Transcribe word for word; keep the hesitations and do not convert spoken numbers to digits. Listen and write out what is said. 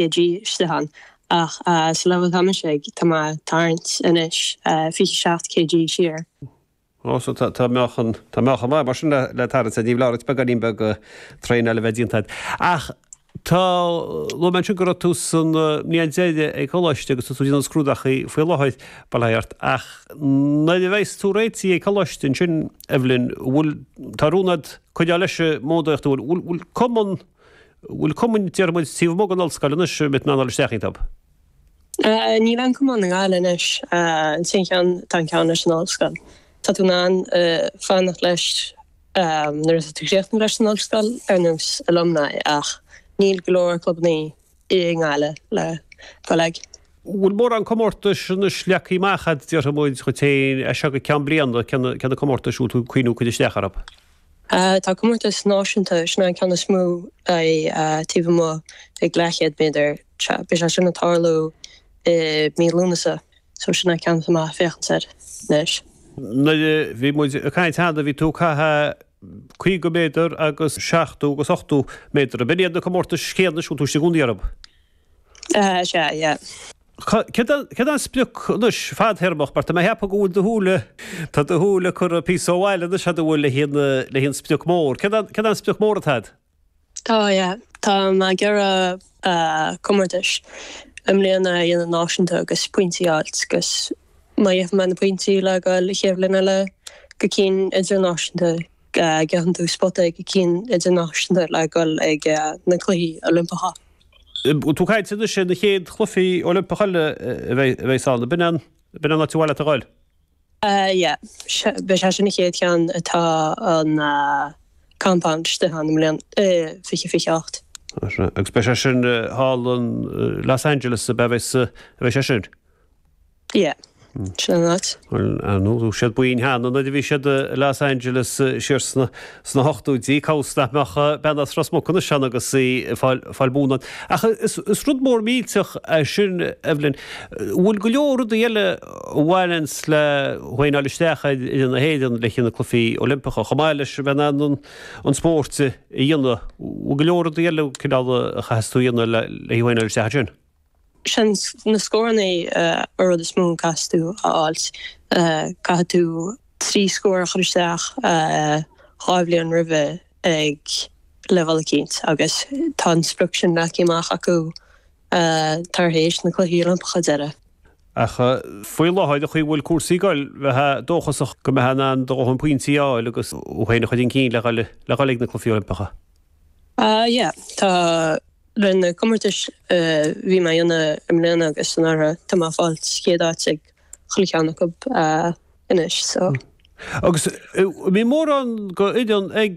kg istigh ann ach sa leibhéal atá mise ag tá mé ag tarraingt anois fiche seacht kg siar. Ó so tá meáchan tá meáchan maith mar sin le tarraingt ní foláir beagáinín beag traenáil a bheith déanta agat. Ach tá luaigh mé ansin go raibh tú san mbliain deiridh ag coláiste agus tá tú ag déanamh scrúdachaí faoi láthair bail ó Dhia ort ach nuair a bheas tú réitithe ag coláiste ansin Evelyn bhfuil tá rún agat coinneáil leis an mbogadaíocht bhfuil bhfuil cumann bhfuil cumainn déarfaidh muid taobh amuigh den ollscoil anois a mbeidh tú in ann dul isteach iontu? Níl aon cumann i nGaillimh anois. An t-aon cheann tá an ceann leis an ollscoil. Tá tú in ann fanacht leis nuair atá tú críochnaithe leis an ollscoil ar nós alumni ach níl go leor clubanna i nGaillimh le dul ag. Bhfuil mórán comórtais anois leagtha amach agat déarfaidh muid dhuit féin as seo go ceann bliana, cé na comórtais a bhfuil tú ag cuimhniú cur isteach orthu? Tá comórtas náisiúnta, sin an ceann is mó taobh amuigh ag leathchéad méadar. Beidh sé sin ag tarlú i mí Lúnasa, so sin an ceann atá mé ag féachaint air anois. Nuair a bhí muid ag caint cheana bhí tú ag caitheamh caoga méadar agus seachtó agus ochtó méadar. Ab in iad na comórtais chéanna is bhfuil tú istigh i gcónaí orthu? Sea, yeah. Céard é an sprioc anois fadthéarmach mar tá mé ag ceapadh go bhfuil do shúile, tá do shúile curtha píosa ó bhaile anois fhad a bhfuil le haghaidh an sprioc mór. Céard é an sprioc mór atá agat? Tá, yeah. Tá mé ag iarraidh comórtais i mbliana a dhéanamh náisiúnta agus pointí a fháilt agus má gheibheann mé na pointí le dhul an chéad bhliain eile go cinn idirnáisiúnta, gheibheann tú spota ag cinn idirnáisiúnta le dhul ag na Cluichí Oilimpeacha. Bhfuil tú ag caint anois ar na chéad Chluichí Oilimpeacha eile a bheas ann? Ab in an áit ar mhaith leat a dhul? Yeah. Beidh sé sin an chéad cheann atá an compound istigh ann i mbliana, i fiche fiche ocht. Agus beidh sé sin thall in Los Angeles ab ea a bheidh sé sin? Yeah. Sin an áit. Bhuel, ar ndóigh, bhí siad búinn cheana nuair a bhí siad i Los Angeles siar sna sna hochtóidí, cá bhfios nach mbeadh bean as Ros Muc anois ann agus í ag fáil fáil buanna ann. Ach is is rud mór millteach é sin, Evelyn. Bhfuil go leor rudaí eile a bhaineanns le thú féin a fháil isteach ar fhoireann na hÉireann le haghaidh na Cluichí Oilimpeacha, chomh maith leis a bheith in ann an an spórt a dhéanamh. Bhfuil go leor rudaí eile cineál a chaithfeas tú a dhéanamh le le thú féin a fháil isteach ansin? Sin na scóranna an rud is mó a caithfidh tú a fháilt. Caithfidh tú trí scór a chur isteach dhá bhliain roimhe ag leibhéal eicínt agus tá an sprioc sin leagtha amach acu tar éis na Cluichí Oilimpeacha deiridh. Ach faoi láthair, an chaoi a bhfuil cúrsaí ag goil, bheifeá dóchasach go mbeifeá in ann do dhóthain pointí a fháil agus thú féin a chur chun cinn le dhul ag na Cluichí Oilimpeacha. Yeah, tá. Le na comórtais a bhí mé a dhéanamh i mbliana agus anuraidh, tá mé ag fáilt chéad áit ag chuile cheann acu anois so. Agus an mbíonn mórán go fhoireann ag.